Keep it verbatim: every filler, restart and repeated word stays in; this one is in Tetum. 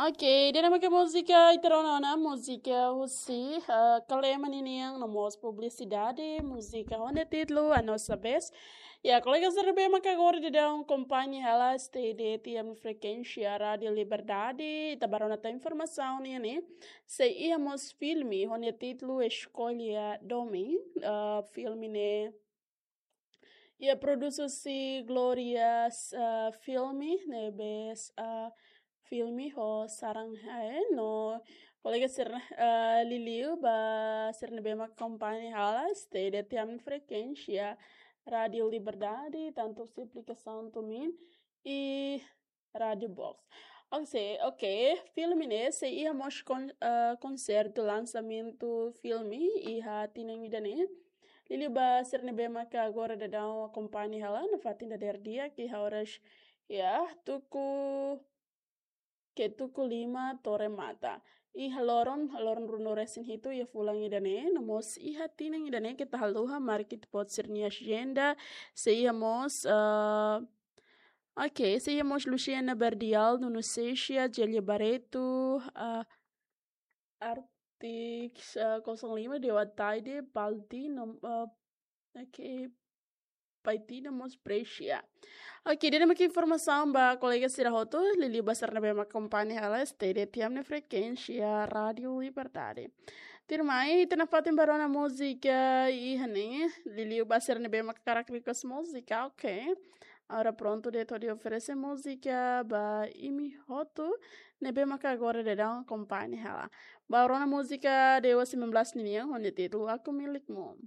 Ok, ida-ne'e mak múzika ita rona ona, múzika husi, eh, Kalema ninian no mós publisidade, múzika ho nia títulu A Nossa Vez. Ya, kolega sira ne'ebé mak agora daudaun akompaña hela, stay de'it iha ami-nia frekuénsia Rádiu Liberdade, ita bá rona tan informasaun nian ne'e. Sei iha mós filme ho nia títulu Escolha Domin, eh, filme ne'e iha produsaun husi Glórias, eh, Filme, ne'ebé, eh, filme ho Sarang Hae, no kolega sira, eh, liuliu ba sira ne'ebé mak akompaña hela, stay de'it iha ami-nia frekuénsia Rádiu Liberdade, tantu husi aplikasaun TuneIn i Rádiu Box. Ok, ok, filme ne'e sei iha mós kon-, eh, konsertu lansamentu filme iha tinan ida-ne'e. Liuliu ba sira ne'ebé mak agora daudaun akompaña hela, nafatin dadeer di'ak iha oras, ya, tuku, ke tuku lima to'o remata. Iha loron, loron ruanulu-resin-hitu iha fulan ida-ne'e, no mós iha tinan ida-ne'e keta haluha marka ita-boot sira-nia ajenda, sei iha mós, eh, ok, sei iha mós Luciana Berdial, Nuno Seixas, Gélia Barreto, eh, Arctic, eh, kosong lima, Dewa Taide, Palti, no, eh, ok, Paiti no mós Brescia. Ok, ida-ne'e mak informasaun ba kolega sira hotu, liuliu ba sira ne'ebé mak akompaña hela, stay de'it iha ami-nia frekuénsia Rádiu Liberdade. Tuirmai, ita nafatin bá rona múzika iha ne'e, liuliu ba sira ne'ebé mak hakarak request múzika, ok. Agora prontu de'it hodi oferese múzika ba imi hotu ne'ebé mak agora daudaun akompaña hela. Bá rona múzika Dewa sembilan belas ninian, ho nia títulu Aku Milikmu.